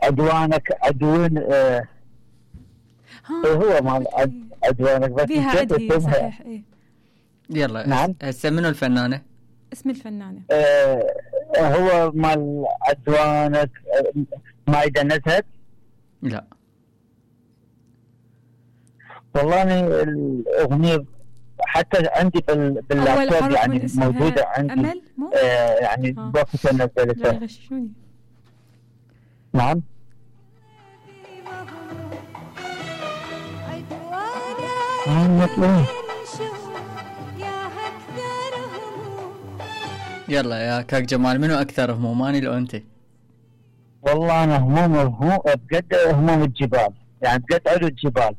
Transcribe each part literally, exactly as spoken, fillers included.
عدوانك عدوين. آه هو مال عدوانك بس بيها عدي صحيح. ايه يلا نعم. هسه منو الفنانة؟ اسم الفنانة آه هو مال عدوانك. آه مايدة نزهت. لا والله الأغنية حتى عندي باللابتوب يعني موجودة عندي. أمل مو؟ آه يعني بوقت نزلتها. يغششوني. نعم. يلا يا كاك جمال منو أكثر هموم أنا لو أنت؟ والله أنا هموم هموم بجد هموم الجبال يعني بجد علو الجبال.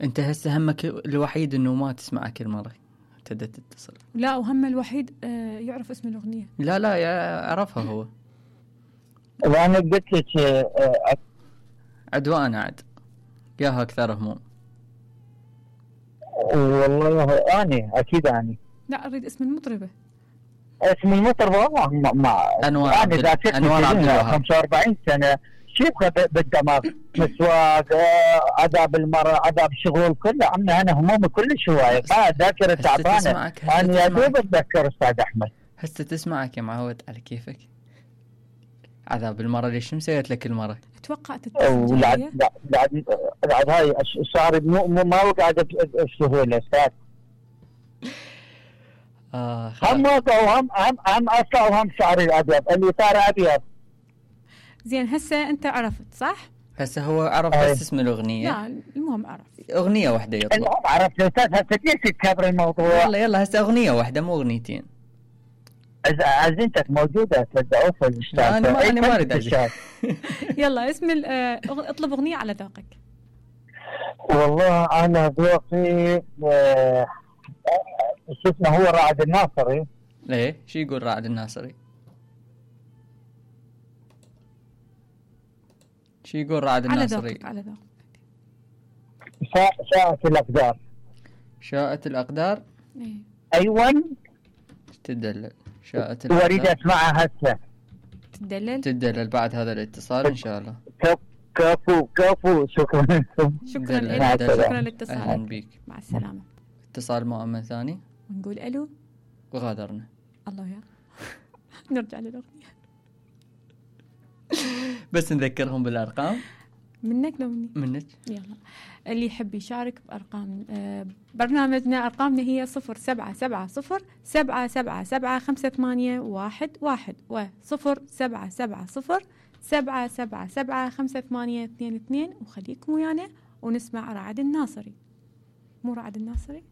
أنت هسه همك الوحيد إنه ما تسمع كل مرة تبدأ تتصل. لا وهم الوحيد آه يعرف اسم الأغنية. لا لا يعرفها هو. وأنا قلت لك آه عدوان عد ياها أكثر هموم. والله أنا أكيد أنا. لا أريد اسم المطربة. اسم المطربة والله ما ما أنوار عبد أنوار عبد الوهاب. خمسة وأربعين سنة شيبها بالدماغ مسواق عذاب المرأة عذاب شغل كله عمي أنا همومي كلش هواية ما ذاكرة تعبانة. أنا يا دوب أتذكر أستاذ أحمد. هسه تسمعك يا معود على كيفك. عذاب المرأة ليش مسويت لك المرة؟ اتوقع تتصل لا لا بعد بعد هاي الشعر مو ما وقعد بسهولة استاذ. اه هم وقعوا هم هم هم اصلا هم شعري الابيض اللي صار ابيض. زين هسه انت عرفت صح؟ هسه هو عرف بس اسم الاغنية. لا المهم عرف اغنية واحدة يطلع. المهم عرفت استاذ هسه ليش تكبر الموضوع؟ يلا يلا هسه اغنية واحدة مو اغنيتين. عزينتك موجودة تبدأ في الاشتراك. أنا ما أنا ما أريد. يلا اسم اه اطلب أغنية على ذوقك. والله أنا ذوقي اه شو اسمه هو رعد الناصري. ليه؟ شو يقول رعد الناصري؟ شو يقول رعد الناصري؟ على ذوقك على ذوقك. شاء شاءت الأقدار. شاءت الأقدار؟ إيه. أيوة. تدلل. شاءت الأقدار. أريد أسمعها هسه. تدلل. تدلل بعد هذا الاتصال إن شاء الله. كفو كفو شكرا. شكرا لك شكرا للاتصال. أهلا بيك. مع السلامة. اتصال مؤمن ثاني. ونقول ألو. وغادرنا. الله يا. نرجع للأغنية. بس نذكرهم بالأرقام. منك لو مني؟ منك. يلا اللي يحب يشارك بأرقام آه برنامجنا أرقامنا هي صفر سبعة سبعة صفر سبعة سبعة سبعة خمسة ثمانية واحد واحد وصفر سبعة سبعة صفر سبعة سبعة سبعة خمسة ثمانية اثنين اثنين وخليكم ويانا ونسمع رعد الناصري. مو رعد الناصري؟